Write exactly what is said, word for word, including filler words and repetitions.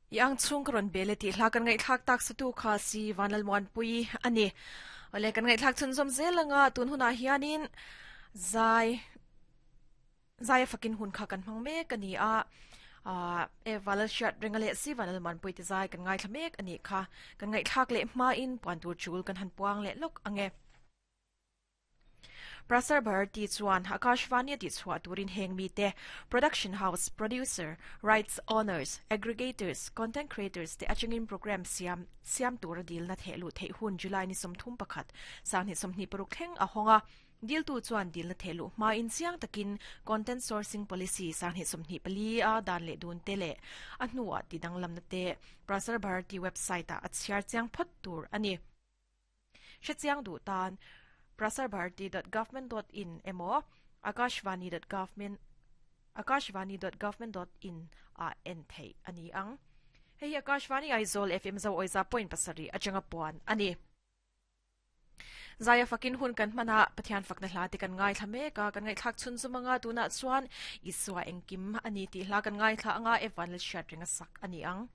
Yang chung ka rawn bel e tih hla kan ngaihthlak tak satu kha si Vanlalmuanpui a ni. Awle kan ngaihthlak chhunzawm zel anga tun hunah hianin zai zai fakin hun kha kan hmang mek ani a a e valal hriat renga leh si Vanlalmuanpui te zai kan ngaithla mek ani kha kan ngaihthlak leh hma in puan tur chul kan han puang leh lawk ange. Prasar Bharati chuan Akashvani ti chhuah turin heng mi te production house producer rights owners aggregators content creators te atangin program siam siam tur dil na thehlu thei hun July ni somthum pakhat sang ni somhni paruk thleng a honga dil tu chuan dil na thehlu ma in chiang takin content sourcing policy sang ni somhni pali a dan le dun te le a hnuah ti danglam na te Prasar Bharati website a achhiar chiang phot tur ani hrechiang du tan prasarbharati dot government dot in emo akashvani dot government akashvani dot government dot in a en thei ani ang. Hei Akashvani Aizawl F M zo oiza point pasari atanga puan ani. Zaya fakin hun kan mana Pathian fakna hla te kan ngai thla mek a kan ngai thlak chhun chumanga tuna chuan Isua engkim ani ti hla kan ngai thla anga Evan le hriat ringa sak ani ang.